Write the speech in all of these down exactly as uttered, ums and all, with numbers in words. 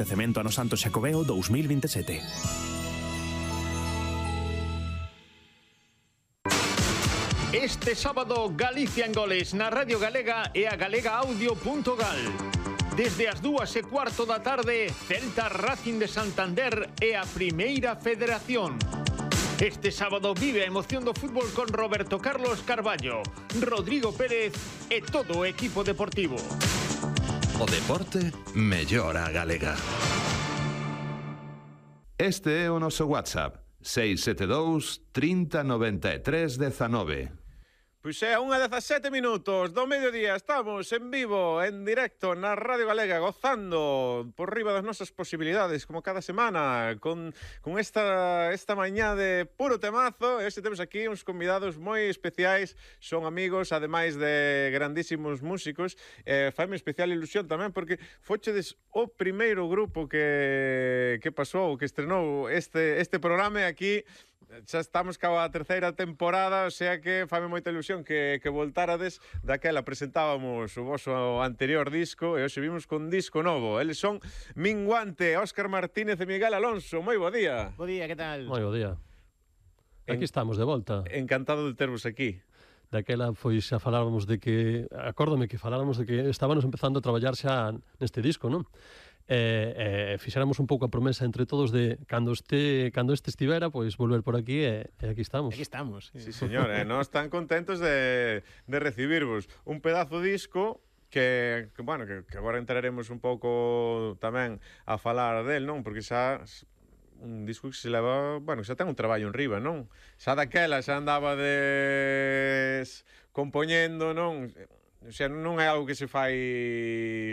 de cemento ano Santo Xacobeo dous mil vinte e sete. Este sábado, Galicia en goles na Radio Galega e a galega audio punto gal. Desde as dúas e cuarto da tarde, Celta Racing de Santander e a Primeira Federación. Este sábado vive a emoción do fútbol con Roberto Carlos Carballo, Rodrigo Pérez e todo o equipo deportivo. O deporte mellora a galega. Este é o noso WhatsApp, seis sete dous, trinta, noventa e tres, dezanove. Pois é, a unha dezasete minutos do mediodía estamos en vivo, en directo na Radio Galega, gozando por riba das nosas posibilidades, como cada semana, con, con esta, esta mañá de puro temazo. E hoxe temos aquí uns convidados moi especiais, son amigos, ademais de grandísimos músicos. Eh, faime especial ilusión tamén, porque fochedes o primeiro grupo que, que pasou, que estrenou este, este programa aquí. Xa estamos ca a terceira temporada, o sea que faime moita ilusión que, que voltárades. Daquela presentábamos o vosso anterior disco e hoxe vimos con disco novo. Eles son Minguante, Óscar Martínez e Miguel Alonso. Moi bo día. Bo día, que tal? Moi bo día. Aquí en... estamos de volta. Encantado de tervos aquí. Daquela foi xa faláramos de que, acórdame que faláramos de que estábamos empezando a traballar xa neste disco, non? E, e fixéramos un pouco a promesa entre todos de cando este cando este estivera, pois volver por aquí e, e aquí estamos. Aquí estamos. Sí, señor, e eh, nós tan contentos de, de recibirvos un pedazo disco que, que bueno, que, que agora entraremos un pouco tamén a falar del, non? Porque xa un disco que se leva, bueno, xa ten un traballo en riba, non? Xa daquela xa andaba des compoñendo, non? O sea, non é algo que se fai,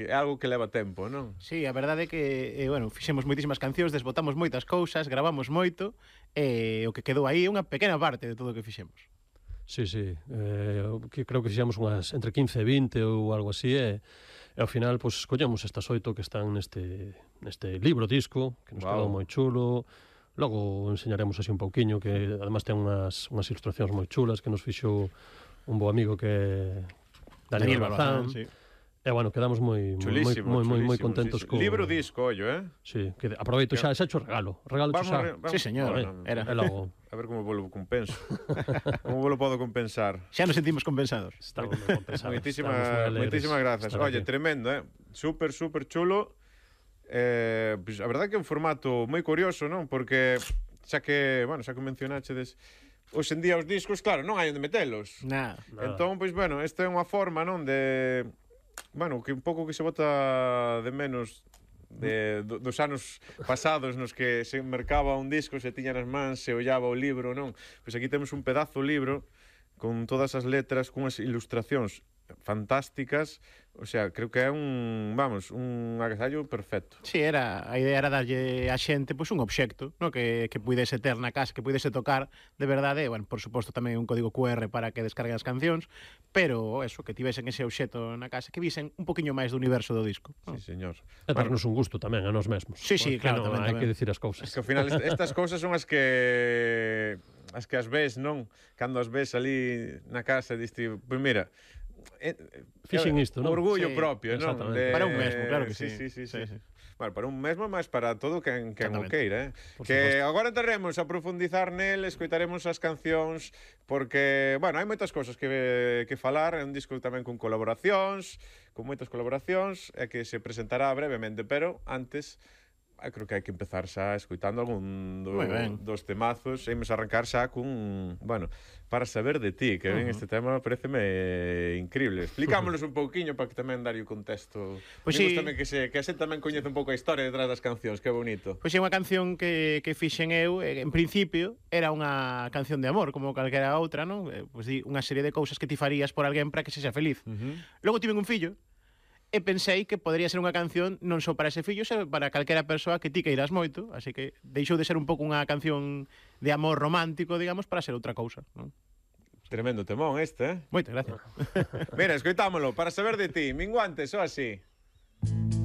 é algo que leva tempo, non? Sí, a verdade é que, eh, bueno, fixemos moitísimas cancións, desbotamos moitas cousas, gravamos moito, e eh, o que quedou aí é unha pequena parte de todo o que fixemos. Sí, sí, eh, que creo que fixemos unhas entre quince e vinte ou algo así, e, e ao final, pois, pues, escollemos estas oito que están neste, neste libro disco, que nos wow. quedou moi chulo. Logo enseñaremos así un pouquiño, que además ten unhas, unhas ilustracións moi chulas que nos fixo un bo amigo que Daniel, Daniel Bazán, sí. E bueno, quedamos moi moi moi moi contentos co libro disco, ollo, eh? Sí, que aproveito xa, xa hecho regalo, regalo vamos, xa. Vamos, sí, señor, no, era. Logo. A ver como volo compenso. Como volo podo compensar? Xa nos sentimos compensados. Estamos compensados. Moitísimas moitísimas grazas. Oye, tremendo, eh? Súper súper chulo. Eh, pues, a verdade que é un formato moi curioso, non? Porque xa que, bueno, xa que mencionachedes hoxe en día os discos, claro, non hai onde metelos. Nada. Entón, pois, bueno, esta é unha forma, non, de... Bueno, que un pouco que se bota de menos de, do, dos anos pasados nos que se mercaba un disco, se tiña nas mans, se ollaba o libro, non? Pois aquí temos un pedazo libro con todas as letras, con as ilustracións fantásticas, o sea, creo que é un, vamos, un agasallo perfecto. Sí, era, a idea era darlle a xente pois un obxecto, no, que que puidese ter na casa, que puidese tocar de verdade, e, bueno, por suposto tamén un código cu erre para que descarguen as cancións, pero eso, que tivesen ese obxecto na casa, que visen un poquinho máis do universo do disco. Sí, señor. E darnos un gusto tamén a nós mesmos. Sí, sí, claro, no, tamén, hai tamén. que dicir as cousas. Es que ao final estas cousas son as que as que as ves, non? Cando as ves ali na casa, diste, pois mira, fixen isto, non? Orgullo sí, propio, non? De... Para un mesmo, claro que sí. Sí, sí, sí, sí. sí. Bueno, para un mesmo, máis para todo quen, quen o queira, eh? Por que suposto. agora entraremos a profundizar nel, escoitaremos as cancións, porque, bueno, hai moitas cousas que, que falar, é un disco tamén con colaboracións, con moitas colaboracións, e que se presentará brevemente, pero antes... Eu creo que hai que empezar xa escoitando algún do, dos temazos e imos arrancar xa cun, bueno, Para saber de ti, que ven uh -huh. este tema pareceme increíble. Explicámonos un pouquiño para que tamén darlle o contexto. Pois pues sí. Tamén que se que a xente tamén coñece un pouco a historia detrás das cancións, que bonito. Pois pues é unha canción que, que fixen eu, en principio era unha canción de amor, como calquera outra, non? Pois pues, unha serie de cousas que ti farías por alguén para que sexa feliz. Uh -huh. Logo tiven un fillo, e pensei que podría ser unha canción non só para ese fillo, senón para calquera persoa que ti queiras moito, así que deixou de ser un pouco unha canción de amor romántico, digamos, para ser outra cousa, non? Tremendo temón este, eh? Moitas gracias. Mira, escoitámolo, Para saber de ti, Minguante, só así.